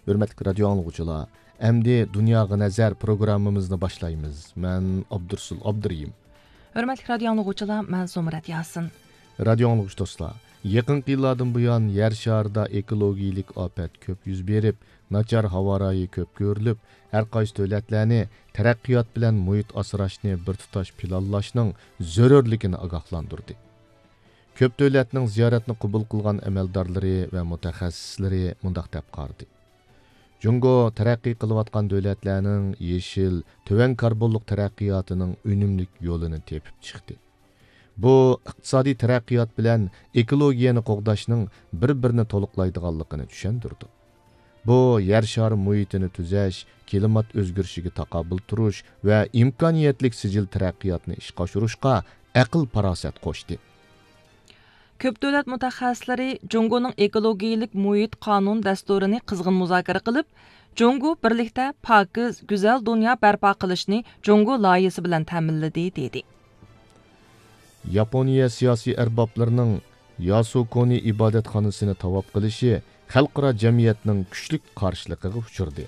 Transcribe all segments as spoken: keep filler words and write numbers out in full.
ھۆرمەتلىك رادىيو ئاڭلىغۇچىلار، ئەمدى دۇنياغا نەزەر پروگراممىمىزنى باشلايمىز. مەن ئابدۇرسۇل ئابدۇرېھىم. ھۆرمەتلىك رادىيو ئاڭلىغۇچىلار، مەن زۇمرەت ياسىن. رادىيو ئاڭلىغۇچى دوستلار، يېقىنقى يىللاردىن بۇيان يەر شارىدا ئېكولوگىيىلىك ئاپەت كۆپ يۈز بېرىپ، ناچار ھاۋا رايى كۆپ كۆرۈلۈپ، ھەر قايسى دۆلەتلەرنى تەرەققىيات بىلەن مۇھىت ئاسراشنى بىر تۇتاش پىلانلاشنىڭ زۆرۈرلۈكىنى ئاگاھلاندۇردى. كۆپ دۆلەتنىڭ زىيارەتنى قوبۇل قىلغان ئەمەلدارلىرى ۋە مۇتەخەسسىسلىرى مۇنداق دەپ قارىدى: جۇڭگو تەرەققىي قىلىۋاتقان دۆلەتلەرنىڭ يېشىل، تۆۋەن كاربونلۇق تەرەققىياتىنىڭ ئۈنۈملۈك يولىنى تېپىپ چىقتى. بۇ ئىقتىسادىي تەرەققىيات بىلەن ئېكولوگىيەنى قوغداشنىڭ بىر-بىرىنى تولۇقلايدىغانلىقىنى چۈشەندۈردى. بۇ يەر شارى مۇھىتىنى تۈزەش، كىلىمات ئۆزگىرىشىگە تاقابىل تۇرۇش ۋە ئىمكانىيەتلىك سىجىل تەرەققىياتنى ئىشقا ئاشۇرۇشقا ئەقىل-پاراسەت قوشتى. كۆپ دۆلەت مۇتەخەسسىسلىرى جۇڭگونىڭ ئېكولوگىيىلىك مۇھىت قانۇن دەستۇرىنى قىزغىن مۇزاكىرە قىلىپ، جۇڭگو بىرلىكتە پاكىز، گۈزەل دۇنيا بەرپا قىلىشنى جۇڭگو لايىھىسى بىلەن تەمىنلىدى، دېدى. ياپونىيە سىياسىي ئەربابلىرىنىڭ ياسۇكونى ئىبادەتخانىسىنى تاۋاپ قىلىشى خەلقئارا جەمئىيەتنىڭ كۈچلۈك قارشىلىقىغا ئۇچرىدى.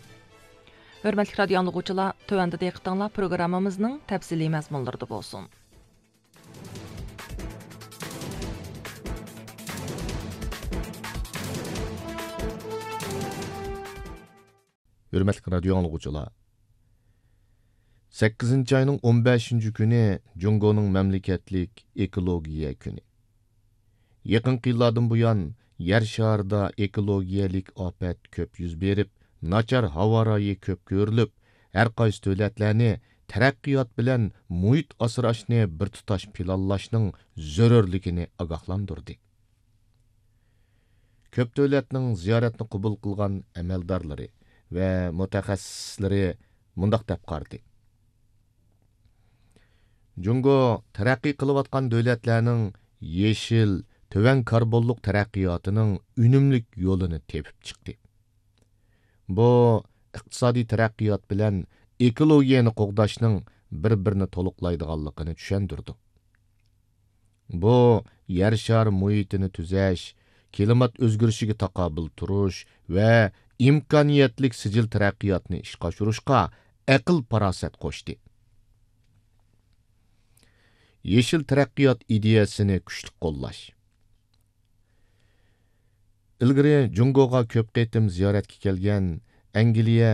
ھۆرمەتلىك رادىئو ئاڭلىغۇچىلار، تۆۋەندە دىققىتىڭلار پروگراممىمىزنىڭ تەپسىلىي مەزمۇنلىرىدا بولسۇن. ھۆرمەتلىك رادىئو ئاڭلىغۇچىلار، سەككىزىنچى ئاينىڭ ئون بەشىنچى كۈنى جۇڭگونىڭ مەملىكەتلىك ئېكولوگىيە كۈنى. يېقىنقى يىللاردىن بۇيان يەر شارىدا ئېكولوگىيەلىك ئاپەت كۆپ يۈز بېرىپ، ناچار ھاۋا رايى كۆپ كۆرۈلۈپ، ھەر قايسى دۆلەتلەرنى تەرەققىيات بىلەن مۇھىت ئاسراشنى بىر تۇتاش پىلانلاشنىڭ زۆرۈرلۈكىنى ئاگاھلاندۇردى. كۆپ دۆلەتنىڭ زىيارەتنى قوبۇل قىلغان ئەمەلدارلىرى ۋە مۇتەخەسسىسلىرى مۇنداق دەپ قارىدى: جۇڭگو تەرەققىي قىلىۋاتقان دۆلەتلەرنىڭ يېشىل، تۆۋەن كاربونلۇق تەرەققىياتىنىڭ ئۈنۈملۈك يولىنى تېپىپ چىقتى. بۇ ئىقتىسادىي تەرەققىيات بىلەن ئېكولوگىيەنى قوغداشنىڭ بىر-بىرىنى تولۇقلايدىغانلىقىنى چۈشەندۈردى. بۇ يەر شارى مۇھىتىنى تۈزەش، كىلىمات ئۆزگىرىشىگە تاقابىل تۇرۇش ۋە ئىمكانىيەتلىك سىجىل تەرەققىياتنى ئىشقا ئاشۇرۇشقا ئەقىل-پاراسەت قوشتى. يېشىل تەرەققىيات ئىدىيەسىنى كۈچلۈك قوللاش. ئىلگىرى جۇڭگوغا كۆپ قېتىم زىيارەتكە كەلگەن ئەنگلىيە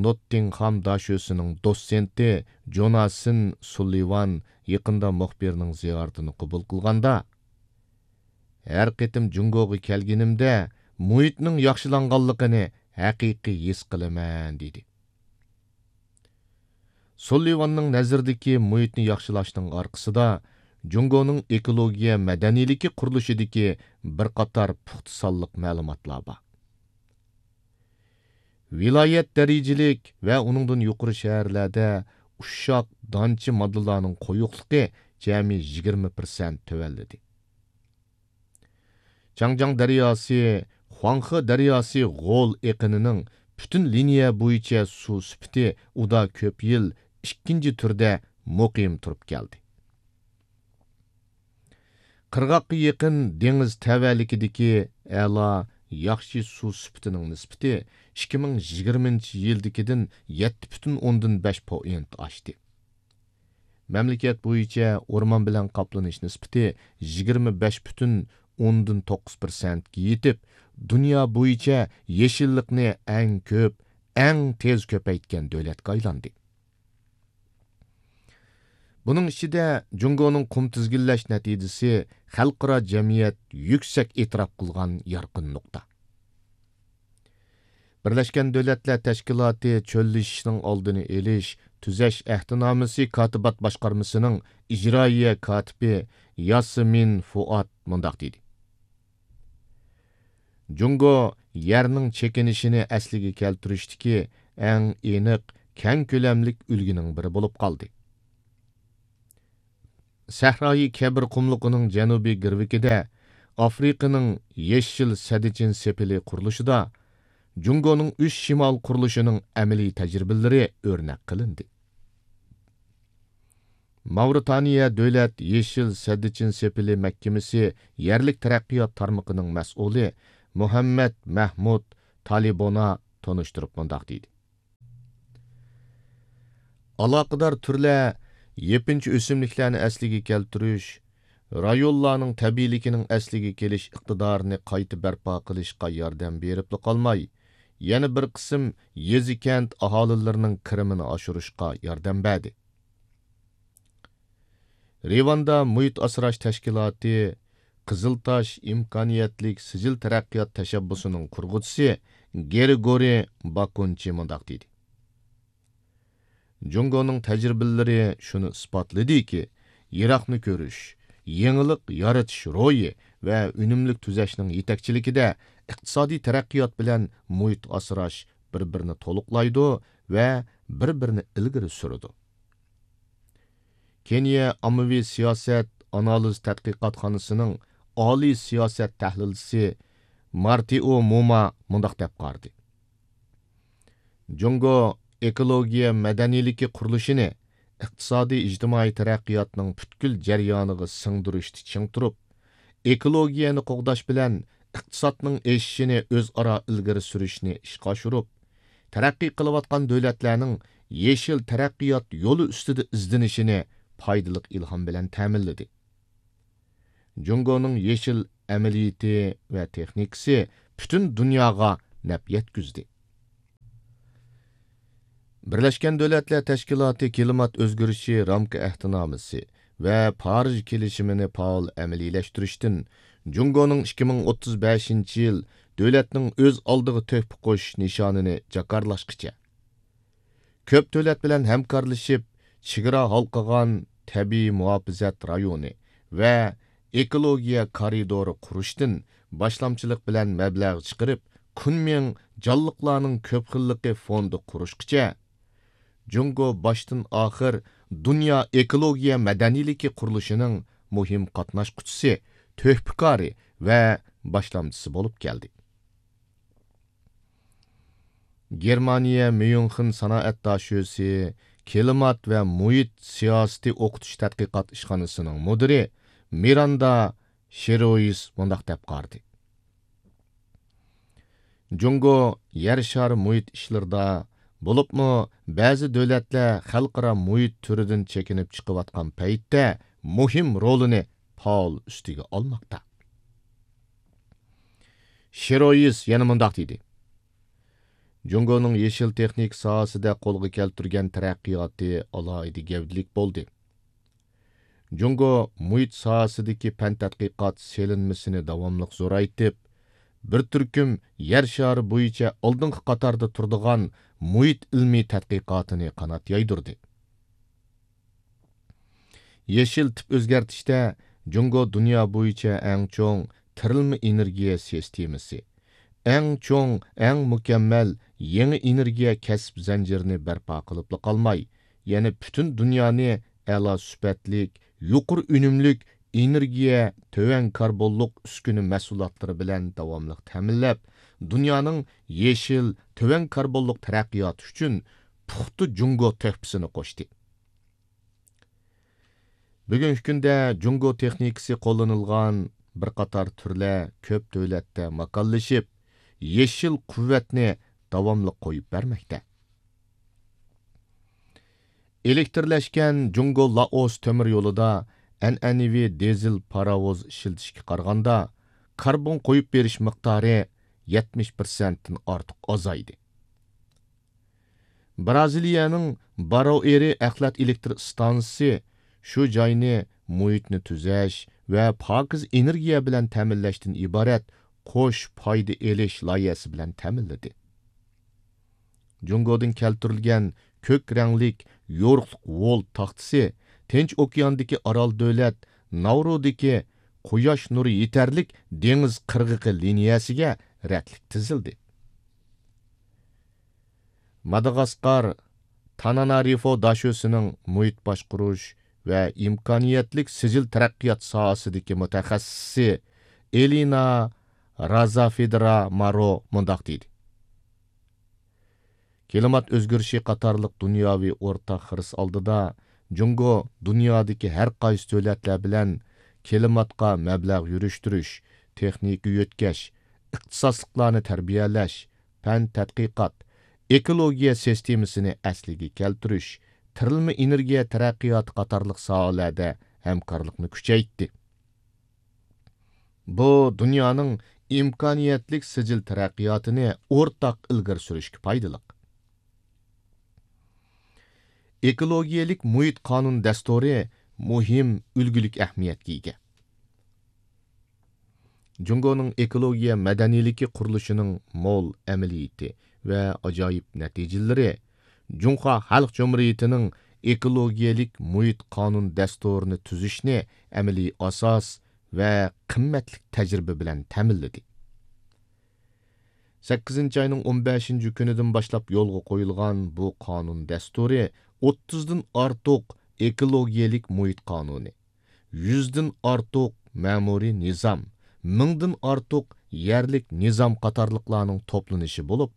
نوتتىڭخام داشۆسىنىڭ دوتسېنتى جوناسىن سۇللىۋان يېقىندا مۇخبىرنىڭ زىيارىتىنى قوبۇل قىلغاندا، ھەر قېتىم جۇڭگوغا كەلگىنىمدە مۇھىتنىڭ ياخشىلانغانلىقىنى ھەقىقىي ھېس قىلىمەن، دېدى. سۇللىۋاننىڭ نەزىرىدىكى مۇھىتنى ياخشىلاشنىڭ ئارقىسىدا جۇڭگونىڭ ئېكولوگىيە مەدەنىيلىكى قۇرۇلۇشىدىكى بىر قاتار پۇختا سانلىق مەلۇماتلار بار. ۋىلايەت دەرىجىلىك ۋە ئۇنىڭدىن يۇقىرى شەھەرلەردە ئۇششاق دانچە ماددىلارنىڭ قويۇقلۇقى جەمئىي يىگىرمە پىرسەنت تۆۋەنلىدى. چاڭجياڭ دەرياسى، خۇاڭخې دەرياسى غول ئېقىنىنىڭ پۈتۈن لىنىيە بويىچە سۇ سۈپىتى ئۇدا كۆپ يىل ئىككىنچى تۈردە مۇقىم تۇرۇپ كەلدى. قىرغاققا يېقىن دېڭىز تەۋەلىكىدىكى ئەلا، ياخشى سۇ سۈپىتىنىڭ نىسبىتى ئىككى مىڭ يىگىرمىنچى يىلدىكىدىن يەتتە پۈتۈن ئوندىن بەش پوئىنت ئاشتى. مەملىكەت بويىچە ئورمان بىلەن قاپلىنىش نىسبىتى يىگىرمە بەش پۈتۈن ئوندىن توققۇز پىرسەنتكە يېتىپ، دۇنيا بويىچە يېشىللىقنى ئەڭ كۆپ، ئەڭ تېز كۆپەيتكەن دۆلەتكە ئايلاندى. بۇنىڭ ئىچىدە جۇڭگونىڭ قۇم تىزگىنلەش نەتىجىسى خەلقئارا جەمئىيەت يۈكسەك ئېتىراپ قىلغان يارقىن نۇقتا. بىرلەشكەن دۆلەتلەر تەشكىلاتى چۆللىشىشنىڭ ئالدىنى ئېلىش، تۈزەش ئەھدىنامىسى كاتىبات باشقارمىسىنىڭ ئىجرائىيە كاتىپى ياسمىن فۇئاد مۇنداق دېدى: جۇڭگو يەرنىڭ چېكىنىشىنى ئەسلىگە كەلتۈرۈشتىكى ئەڭ ئېنىق، كەڭ كۆلەملىك ئۈلگىنىڭ بىرى بولۇپ قالدى. سەھرايى كەبىر قۇملۇقىنىڭ جەنۇبىي گىرۋىكىدە ئافرىقىنىڭ يېشىل سەددىچىن سېپىلى قۇرۇلۇشىدا جۇڭگونىڭ ئۈچ شىمال قۇرۇلۇشىنىڭ ئەمەلىي تەجرىبىلىرى ئۆرنەك قىلىندى. ماۋرىتانىيە دۆلەت يېشىل سەددىچىن سېپىلى مەھكىمىسى يەرلىك تەرەققىيات تارمىقىنىڭ مەسئۇلى مۇھەممەد مەھمۇد تالىبونا تونۇشتۇرۇپ مۇنداق دېدى: ئالاقىدار تۈرلەر يېپىنچا ئۆسۈملۈكلەرنى ئەسلىگە كەلتۈرۈش، رايونلارنىڭ تەبىئىيلىكىنىڭ ئەسلىگە كېلىش ئىقتىدارىنى قايتا بەرپا قىلىشقا ياردەم بېرىپلا قالماي، يەنە بىر قىسىم يېزا-كەنت ئاھالىلىرىنىڭ كىرىمىنى ئاشۇرۇشقا ياردەم بەردى. رىۋاندا مۇھىت ئاسراش تەشكىلاتى قىزىل تاش ئىمكانىيەتلىك سىجىل تەرەققىيات تەشەببۇسىنىڭ قۇرغۇچىسى گرىگورى باكۇنچى مۇنداق دېدى: جۇڭگونىڭ تەجرىبىلىرى شۇنى ئىسپاتلىدىكى، يىراقنى كۆرۈش، يېڭىلىق يارىتىش روھى ۋە ئۈنۈملۈك تۈزەشنىڭ يېتەكچىلىكىدە ئىقتىسادىي تەرەققىيات بىلەن مۇھىت ئاسراش بىر-بىرىنى تولۇقلايدۇ ۋە بىر-بىرىنى ئىلگىرى سۈرىدۇ. كېنىيە ئاممىۋى سىياسەت ئانالىز تەتقىقاتخانىسىنىڭ ئالىي سىياسەت تەھلىلچىسى مارتىئو مۇما مۇنداق دەپ قارىدى: جۇڭگو ئېكولوگىيە مەدەنىيلىكى قۇرۇلۇشىنى ئىقتىسادىي ئىجتىمائىي تەرەققىياتنىڭ پۈتكۈل جەريانىغا سىڭدۈرۈشتە چىڭ تۇرۇپ، ئېكولوگىيەنى قوغداش بىلەن ئىقتىسادنىڭ ئېشىشىنى ئۆزئارا ئىلگىرى سۈرۈشنى ئىشقا ئاشۇرۇپ، تەرەققىي قىلىۋاتقان دۆلەتلەرنىڭ يېشىل تەرەققىيات يولى ئۈستىدە ئىزدىنىشىنى پايدىلىق ئىلھام بىلەن تەمىنلىدى. جۇڭگونىڭ يېشىل ئەمەلىيىتى ۋە تېخنىكىسى پۈتۈن دۇنياغا نەپ يەتكۈزدى. بىرلەشكەن دۆلەتلەر تەشكىلاتى كىلىمات ئۆزگىرىشى رامكا ئەھدىنامىسى ۋە پارىژ كېلىشىمىنى پائال ئەمەلىيلەشتۈرۈشتىن جۇڭگونىڭ ئىككى مىڭ ئوتتۇز بەشىنچى يىل دۆلەتنىڭ ئۆز ئالدىغا تۆھپە قوشۇش نىشانىنى جاكارلاشقىچە، كۆپ دۆلەت بىلەن ھەمكارلىشىپ، چېگرا ھالقىغان تەبىئىي مۇھاپىزەت رايونى ۋە ئېكولوگىيە كارىدورى قۇرۇشتىن باشلامچىلىق بىلەن مەبلەغ چىقىرىپ، كۇنمىڭ جانلىقلارنىڭ كۆپ خىللىقى فوندى قۇرۇشقىچە، جۇڭگو باشتىن ئاخىر دۇنيا ئېكولوگىيە مەدەنىيلىكى قۇرۇلۇشىنىڭ مۇھىم قاتناشقۇچىسى، تۆھپىكارى ۋە باشلامچىسى بولۇپ كەلدى. گېرمانىيە ميۇنخېن سانائەت داشۆسى كىلىمات ۋە مۇھىت سىياسىتى ئوقۇتۇش تەتقىقات ئىشخانىسىنىڭ مۇدىرى مىراندا شېرويس مۇنداق دەپ قارىدى: جۇڭگو يەر شارى مۇھىت ئىشلىرىدا، بولۇپمۇ بەزى دۆلەتلەر خەلقئارا مۇھىت تۈرىدىن چېكىنىپ چىقىۋاتقان پەيتتە مۇھىم رولىنى پائال ئۈستىگە ئالماقتا. شېرويس يەنە مۇنداق دېدى: جۇڭگونىڭ يېشىل تېخنىكا ساھەسىدە قولغا كەلتۈرگەن تەرەققىياتى ئالاھىدە گەۋدىلىك بولدى. جۇڭگو مۇھىت ساھەسىدىكى پەن تەتقىقات سېلىنمىسىنى داۋاملىق زورايتىپ، بىر تۈركۈم يەر شارى بويىچە ئالدىنقى قاتاردا تۇرىدىغان مۇھىت ئىلمىي تەتقىقاتىنى قانات يايدۇردى. يېشىل تىپ ئۆزگەرتىشتە جۇڭگو دۇنيا بويىچە ئەڭ چوڭ تىرىلما ئېنېرگىيە سىستېمىسى، ئەڭ چوڭ، ئەڭ مۇكەممەل يېڭى ئېنېرگىيە كەسىپ زەنجىرىنى بەرپا قىلىپلا قالماي، يەنە پۈتۈن دۇنيانى ئەلا سۈپەتلىك، يۇقىرى ئۈنۈملۈك ئېنېرگىيە، تۆۋەن كاربونلۇق ئۈسكۈنە مەھسۇلاتلىرى بىلەن داۋاملىق تەمىنلەپ، دۇنيانىڭ يېشىل، تۆۋەن كاربونلۇق تەرەققىياتى ئۈچۈن پۇختا جۇڭگو تۆھپىسىنى قوشتى. بۈگۈنكى كۈندە جۇڭگو تېخنىكىسى قوللىنىلغان بىر قاتار تۈرلەر كۆپ دۆلەتتە ماكانلىشىپ، يېشىل قۇۋۋەتنى داۋاملىق قويۇپ بەرمەكتە. ئېلېكتىرلەشكەن جۇڭگو لائوس تۆمۈر يولىدا ئەنئەنىۋى دىزېل پاراۋۇز ئىشلىتىشكە قارىغاندا، كاربون قويۇپ بېرىش مىقدارى يەتمىش پىرسەنتتىن ئارتۇق ئازايدى. بىرازىلىيەنىڭ باروئېرى ئەخلەت ئېلېكتر ئىستانسىسى شۇ جاينى مۇھىتنى تۈزەش ۋە پاكىز ئېنېرگىيە بىلەن تەمىنلەشتىن ئىبارەت قوش پايدا ئېلىش لايىھەسى بىلەن تەمىنلىدى. جۇڭگودىن كەلتۈرۈلگەن كۆك رەڭلىك يورۇقلۇق ۋول تاختىسى تىنچ ئوكياندىكى ئارال دۆلەت ناۋرۇدىكى قۇياش نۇرى يېتەرلىك دېڭىز قىرغىقى لىنىيەسىگە رەتلىك تىزىلدى. ماداغاسقار تانانارىفو داشۆسىنىڭ مۇھىت باشقۇرۇش ۋە ئىمكانىيەتلىك سىجىل تەرەققىيات ساھەسىدىكى مۇتەخەسسىسى ئېلىنا رازافېدرا مارو مۇنداق دېدى: كىلىمات ئۆزگىرىشى قاتارلىق دۇنياۋى ئورتاق خىرىس ئالدىدا، جۇڭگو دۇنيادىكى ھەر قايسى دۆلەتلەر بىلەن كىلىماتقا مەبلەغ يۈرۈشتۈرۈش، تېخنىكا يۆتكەش، ئىختىساسلىقلارنى تەربىيەلەش، پەن تەتقىقات، ئېكولوگىيە سىستېمىسىنى ئەسلىگە كەلتۈرۈش، تىرىلما ئېنېرگىيە تەرەققىياتى قاتارلىق ساھەلەردە ھەمكارلىقنى كۈچەيتتى. بۇ دۇنيانىڭ ئىمكانىيەتلىك سىجىل تەرەققىياتىنى ئورتاق ئىلگىرى سۈرۈشكە پايدىلىق. ئېكولوگىيەلىك مۇھىت قانۇن دەستۇرى مۇھىم ئۈلگىلىك ئەھمىيەتكە ئىگە. جۇڭگونىڭ ئېكولوگىيە مەدەنىيلىكى قۇرۇلۇشىنىڭ مول ئەمەلىيىتى ۋە ئاجايىپ نەتىجىلىرى جۇڭخۇا خەلق جۇمھۇرىيىتىنىڭ ئېكولوگىيەلىك مۇھىت قانۇن دەستۇرىنى تۈزۈشنى ئەمەلىي ئاساس ۋە قىممەتلىك تەجرىبە بىلەن تەمىنلىدى. سەككىزىنچى ئاينىڭ ئون بەشىنچى كۈنىدىن باشلاپ يولغا قويۇلغان بۇ قانۇن دەستۇرى ئوتتۇزدىن ئارتۇق ئېكولوگىيەلىك مۇھىت قانۇنى، يۈزدىن ئارتۇق مەمۇرىي نىزام، مىڭدىن ئارتۇق يەرلىك نىزام قاتارلىقلارنىڭ توپلىنىشى بولۇپ،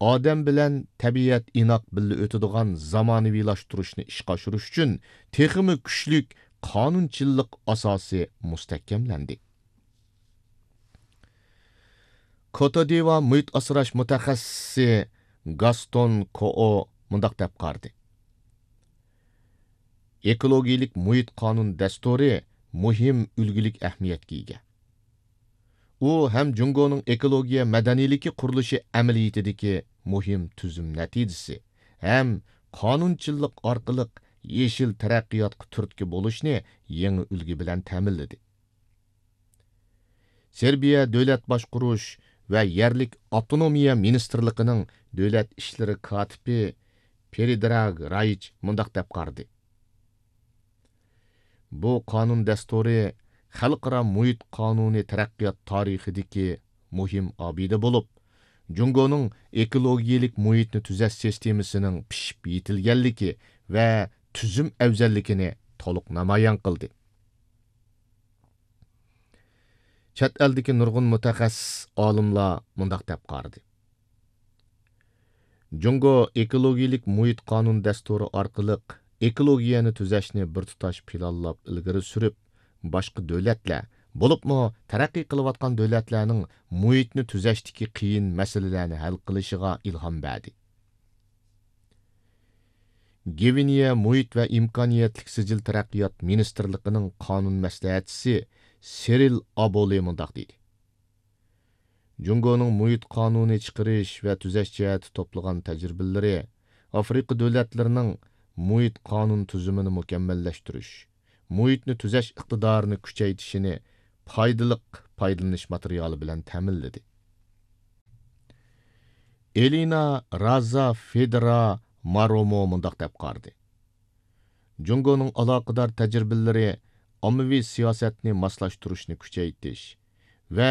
ئادەم بىلەن تەبىئەت ئىناق بىللە ئۆتىدىغان زامانىۋىلاشتۇرۇشنى ئىشقا ئاشۇرۇش ئۈچۈن تېخىمۇ كۈچلۈك قانۇنچىللىق ئاساسى مۇستەھكەملەندى. كوتودىۋا مۇھىت ئاسراش مۇتەخەسسىسى گاستون كوئو مۇنداق دەپ قارىدى: ئېكولوگىيەلىك مۇھىت قانۇن دەستۇرى مۇھىم ئۈلگىلىك ئەھمىيەتكە ئىگە. ئۇ ھەم جۇڭگونىڭ ئېكولوگىيە مەدەنىيلىكى قۇرۇلۇشى ئەمەلىيىتىدىكى مۇھىم تۈزۈم نەتىجىسى، ھەم قانۇنچىللىق ئارقىلىق يېشىل تەرەققىياتقا تۈرتكە بولۇشنى يېڭى ئۈلگە بىلەن تەمىنلىدى. سېربىيە دۆلەت باشقۇرۇش ۋە يەرلىك ئاپتونومىيە مىنىستىرلىقىنىڭ دۆلەت ئىشلىرى كاتىپى پېرىدراگ رايچ مۇنداق دەپ قارىدى: بۇ قانۇن دەستۇرى خەلقئارا مۇھىت قانۇنى تەرەققىيات تارىخىدىكى مۇھىم ئابىدە بولۇپ، جۇڭگونىڭ ئېكولوگىيەلىك مۇھىتنى تۈزەش سىستېمىسىنىڭ پىشىپ يېتىلگەنلىكى ۋە تۈزۈم ئەۋزەللىكىنى تولۇق نامايان قىلدى. چەت ئەلدىكى نۇرغۇن مۇتەخەسسىس ئالىملار مۇنداق دەپ قارىدى: جۇڭگو ئېكولوگىيەلىك مۇھىت قانۇن دەستۇرى ئارقىلىق ئېكولوگىيەنى تۈزەشنى بىر تۇتاش پىلانلاپ ئىلگىرى سۈرۈپ، باشقا دۆلەتلەر، بولۇپمۇ تەرەققىي قىلىۋاتقان دۆلەتلەرنىڭ مۇھىتنى تۈزەشتىكى قىيىن مەسىلىلەرنى ھەل قىلىشىغا ئىلھام بەردى. گۋىنېيە مۇھىت ۋە ئىمكانىيەتلىك سىجىل تەرەققىيات مىنىستىرلىقىنىڭ قانۇن مەسلىھەتچىسى سېرىل ئابولى مۇنداق دېدى: جۇڭگونىڭ مۇھىت قانۇنى چىقىرىش ۋە تۈزەش جەھەتتە توپلىغان تەجرىبىلىرى ئافرىقا دۆلەتلىرىنىڭ مۇھىت قانۇن تۈزۈمىنى مۇكەممەللەشتۈرۈش، مۇھىتنى تۈزەش ئىقتىدارىنى كۈچەيتىشىنى پايدىلىق پايدىلىنىش ماتېرىيالى بىلەن تەمىنلىدى. ئېلىنا رازا فېدرا مارومو مۇنداق دەپ قارىدى: جۇڭگونىڭ ئالاقىدار تەجرىبىلىرى ئاممىۋى سىياسەتنى ماسلاشتۇرۇشنى كۈچەيتىش ۋە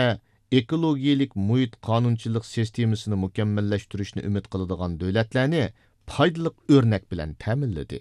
ئېكولوگىيەلىك مۇھىت قانۇنچىلىق سىستېمىسىنى مۇكەممەللەشتۈرۈشنى ئۈمىد قىلىدىغان دۆلەتلەرنى پايدىلىق ئۆرنەك بىلەن تەمىنلىدى.